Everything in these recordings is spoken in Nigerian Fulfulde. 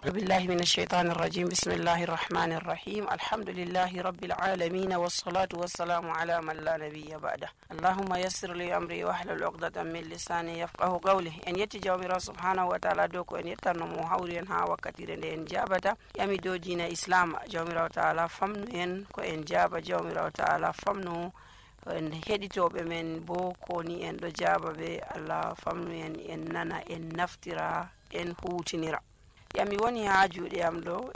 billahi minash shaitanir rajim. Bismillahir rahmanir rahim. Alhamdulillahi rabbil alamin wassalatu wassalamu ala man la nabiyya ba'da. Allahumma yassir li amri wahlul 'uqdatan min lisani yafqahu qawli. En yetti jawmirawo subhanahu wa ta'ala dow ko en yettanno mo hawri en ha wakkatire nde en jabata yami dow diina islam. Jawmirawo ta'ala famnu en ko en jaba. Jawmirawo ta'ala famnu en heɗitoɓe men bo ko ni en ɗo jaba ɓe. Allah famnu en en nana en naftira en hutinira. Yami woni ha juuɗe am ɗo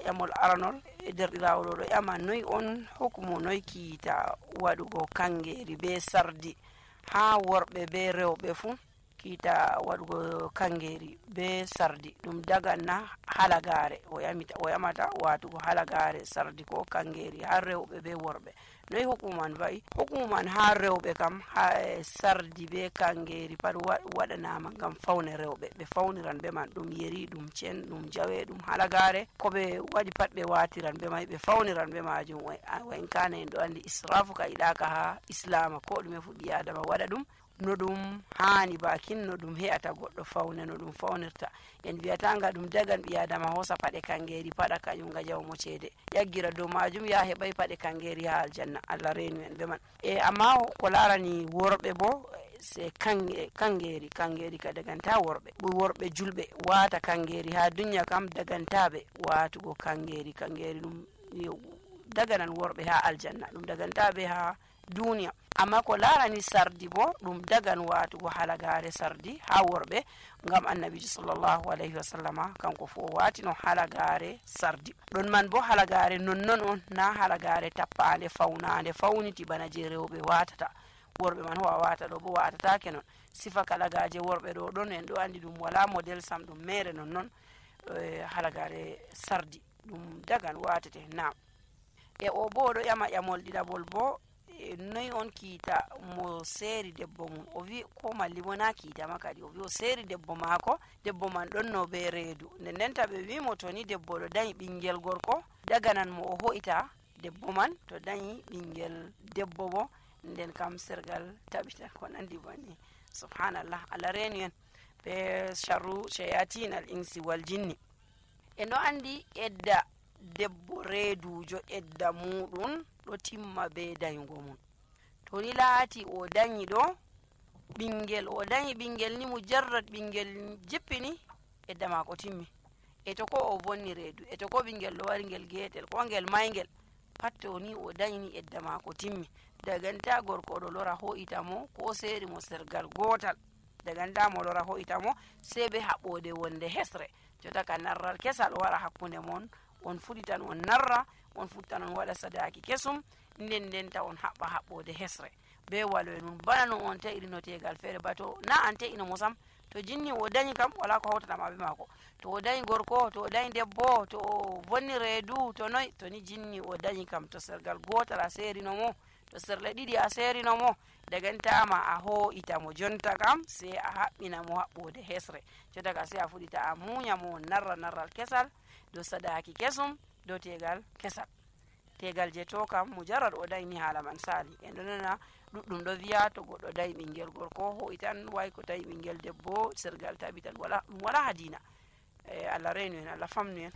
yamol aranol e derɗirawo ɗo ƴama noy on hukumu noy kiita waɗugo kangeri be sardi ha worɓe be rewɓe fu. Kiita waɗugo kangeri be sardi ɗum daganna halagare o yamata watugo halagare sardi ko kangeri ha rewɓe be worɓe. Noy hukuman va'i? Hukuman ha rewɓe kam ha sardi be kangeri pat waɗanama ngam fawne rewɓe. Ɓe fawniran be man, ɗum yeri, ɗum cen, ɗum jawe, ɗum halagare, ko ɓe waɗi pat ɓe watiran be mai, ɓe fawniran be majum. Wa in kana en ɗo andi israfu ka yiɗaka ha islama, ko ɗume fu ɓi adama waɗa ɗum no ɗum hani, bakin no ɗum he'ata goɗɗo fawne no ɗum fawnirta. En wiyatanga ɗum dagan ɓi adama hosa paɗe kangeri paɗa kañum nga jawmo ceede yaggira dow majum ya heɓay paɗe kangeri ha aljanna. Allah renu en be man. Amma ko larani worɓe bo se kangeri ka daganta worɓe julɓe wata kangeri ha dunya kam dagantaɓe watugo kangeri ɗum daganan worɓe ha aljanna, ɗum dagantaɓe ha duniya. Amma ko larani sardi bo ɗum dagan watugo halagare sardi ha worɓe, ngam annabijo sallallahu alayhi wa sallama kanko fu o watino halagare sardi. Ɗon man bo halagare nonnon on, na halagare tappande fawnande fawniti bana je rewɓe watata. Worɓe man ho a wata ɗo bo watatake non. Sifa kalagaje worɓe ɗo ɗon en ɗo andi ɗum wala model sam, ɗum mere nonnon. Halagare sardi ɗum dagan watete na. O bo ɗo ƴama ƴamol ɗiɗaɓol bo noy on kiita mo seeri debbo mum. O wi ko malli bo na kiita ma kadi, o wi o seeri debbo maako, debbo man ɗon no be reedu. Nden denta ɓe wimo to ni debbo ɗo dañi ɓingel gorko daganan mo o ho'ita debbo man, to dañi ɓingel debbo bo nden kam sergal tabita ko nandi banni. Subhanallah, Allah reni en be sharru shayatin al insi wal jinni. En ɗo andi edda debbo reedujo edda muɗum ɗo timma be dayugo mum. To ni laati o dañi ɗo ɓingel, o dañi ɓingel ni mujarrad ɓingel jippini edda mako timmi. E to ko o vonni reedu, e to ko ɓingel ɗo wari ngel getel ko ngel maygel, pat to ni o dañi edda mako timmi. Daganta gorko ɗo lora ho'ita mo ko seeri mo sergal gotal, daganta mo lora ho'ita mo sei be haɓɓode wonde hesre. Jota ka narral kesal wara hakkunde mon, on fuɗitan on narra, on futtan on waɗa sadaki kesum, nden denta on haɓɓa haɓɓode hesre be waloe nun. Bana no on ta'iri no tegal feere ba to na an ta'ino mo sam. To jinni o dañi kam wala ko hawtatama be mako. To o dañi gorko, to o dañi debbo, to o vonni reedu, to noy, to ni jinni o dañi kam, to sergal gotal a serino mo, to serle ɗiɗi a serino mo, dagantama a ho'ita mo. Jonta kam sei a haɓɓina mo haɓɓode hesre. Jonta ka sei a fuɗita a muña mo narral kesal do sadaki kesum do tegal kesal. Tegal je to kam mujarrad o dañi hala man sali. En ɗo nana ɗuɗɗum ɗo wiya to goɗɗo dañi ɓingel gorko ho'itan, way ko tawi ɓingel debbo sergal tabitan, wala hadina. Allah renu en, Allah famnu en.